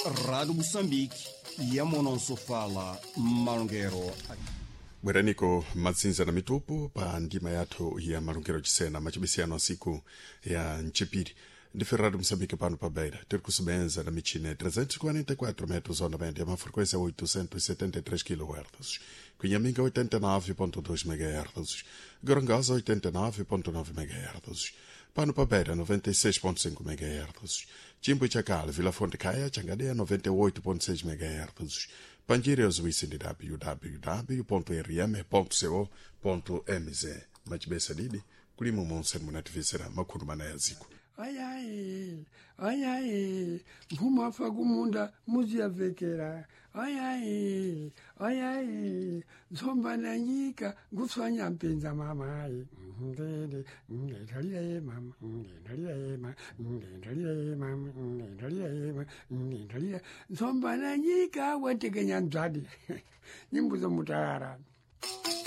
Rádio Moçambique, Yamonosofala, Malongero. Bweraniko madzinza na mitupu pa ndima yathu ya malungiro chisena machibisiyano asiku ya mchipiri ndife Rádio Moçambique pano pa Beira tiri kusebenza na michina ya 344 metros onda média uma frequência 873 kHz Cunhaminga 89.2 MHz Gorongosa 89.9 MHz pano pa Beira 96.5 MHz Chimbo Chakale Vila Fonte Caia Changadeia 98.6 MHz Panjiri oziwisi ndi www.rm.co.mz machibesa didi kulimo monse munativisera makhulu mana ya ziko. Ayayi, ayayi, mphuma afa kumunda muziyavekera. Ayayi, ayayi, ntsomba na nyika ngutswanya mpinza mamayi. Ndende, ndalira ye mama, ndalira ye ma, ndalira ye mama, ndalira ye ma, ndalira. Ntsomba na nyika watekenya ndzwadi. Nyimbo za mutayara.